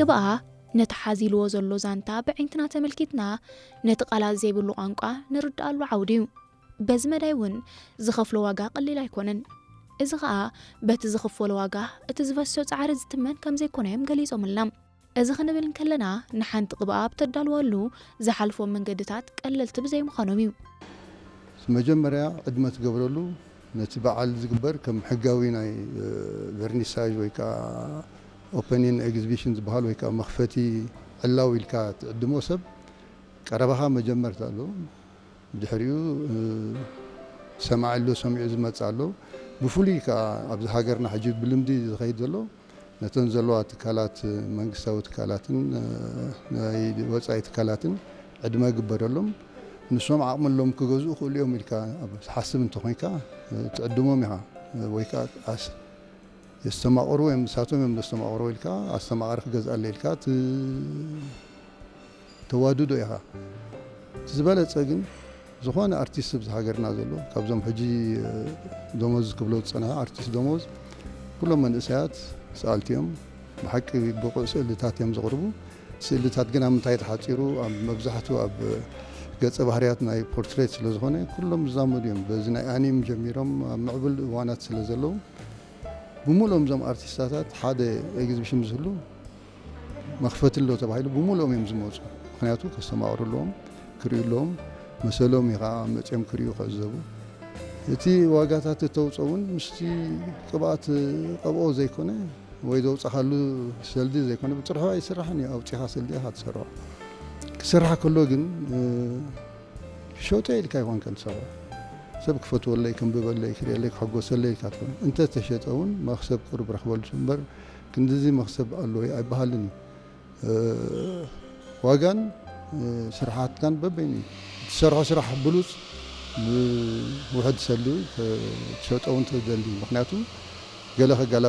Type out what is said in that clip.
ቅብኣ ነቲ ሓዚልዎ ዘሎ ዛንታ ብዕንክና ተመልኪትና፣ ነቲ ቃላት ዘይብሉ ቋንቋ ንርድኣሉ ዓውዲ እዩ። በዚ መዳይ እውን ዝኸፍሎ ዋጋ ቀሊል ኣይኮነን። እዚ ኸኣ በቲ ዝኽፈሎ ዋጋ እቲ ዝፈሶ ጻዕሪ ዝትመን ከም ዘይኮነ እዮም ገሊጾምልና። እዚ ክንብል እንከለና፣ ንሓንቲ ቅብኣ ኣብ ተዳልወሉ ዝሓልፎም መንገድታት ቀለልቲ ብዘይምዃኖም እዩ። መጀመርያ ዕድመ ትገብረሉ ነቲ በዓል ዝግበር ከም ሕጋዊ ናይ ቨርኒሳዥ ወይ ከዓ ኦፐኒን ኤግዚቢሽን ዝበሃል ወይ ከዓ መኽፈቲ ዕላው ኢልካ ትዕድሞ ሰብ ቀረባኻ መጀመርታ ኣሎ። ብድሕሪኡ ሰማዒ ኣሎ፣ ሰሚዑ ዝመጽእ ኣሎ። ብፍሉይ ከዓ ኣብዚ ሃገርና ሕጂ ብልምዲ ዝኸይድ ዘሎ ነተን ዘለዋ ትካላት፣ መንግስታዊ ትካላትን ናይ ወፃኢ ትካላትን ዕድመ ይግበረሎም። ንሶም ዓቕሚ ኣለዎም ክገዝኡ ክእሉ እዮም ኢልካ ኣብ ትሓስብ እንተኾይንካ ትዕድሞም ኢኻ። ወይ ከዓ ኣስ- የስተማቕሩ እዮም፣ ንሳቶም እዮም ዘስተማቕሩ ኢልካ ኣስተማቓሪ ክገዝኣለ ኢልካ ት- ተዋድዶ ኢኻ። እቲ ዝበለፀ ግን ዝኾነ ኣርቲስት ኣብዚ ሃገርና ዘሎ ካብዞም ሕጂ ደሞዝ ክብሎ ዝፀንሐ ኣርቲስት ደሞዝ ኩሎም መንእሰያት ሰኣልቲ እዮም። ብሓቂ ብቑዕ ስእልታት እዮም ዘቕርቡ። ስእልታት ግን ኣብ ምንታይ ተሓፂሩ? ኣብ መብዛሕትኡ ኣብ ገፀ ባህርያት ናይ ፖርትሬት ስለ ዝኾነ ኩሎም ዝዛመዱ እዮም። በዚ ናይ ኣኒም ጀሚሮም ኣብ ምዕቡል እዋናት ስለ ዘለዉ ብምሉኦም እዞም ኣርቲስታታት ሓደ ኤግዚቢሽን ዝህሉ መኽፈቲ ኣሎ ተባሂሉ ብምሉኦም እዮም ዝመፁ። ምክንያቱ ከስተማቕሩ ኣለዎም፣ ክርእዩ ኣለዎም፣ መሰሎም እዩ ከዓ መፅኦም ክርእዩ ክዕዘቡ። እቲ ዋጋታት እተውፅኦ እውን ምስቲ ቅብኣት ቀብኦ ዘይኮነ ወይ ዘውፃኻሉ ሰልዲ ዘይኮነ ብፅርሑ ኣይስራሕን እዩ። ኣውፂኻ ሰልዲ ኢኻ ትሰርሖ። ክስራሕ ከሎ ግን ክሸጦ ኢልካ ይኮንካ ትሰርሖ። ሰብ ክፈትወለይ፣ ከንብበለይ፣ ክርእየለይ፣ ክሕጎሰለይ ኢልካ ትኾን። እንተተሸጠ እውን መኽሰብ ቁሩብ ረኽበሉ እምበር ክንድዚ መኽሰብ ኣሎ ኣይበሃልን እዩ። ዋጋን ስርሓትካን በበይኑ እዩ። እትሰርሖ ስራሕ ብሉፅ ውሕድ ሰልዲ ትሸጦ እውን ትደሊ። ምክንያቱ ገለ ከጋላ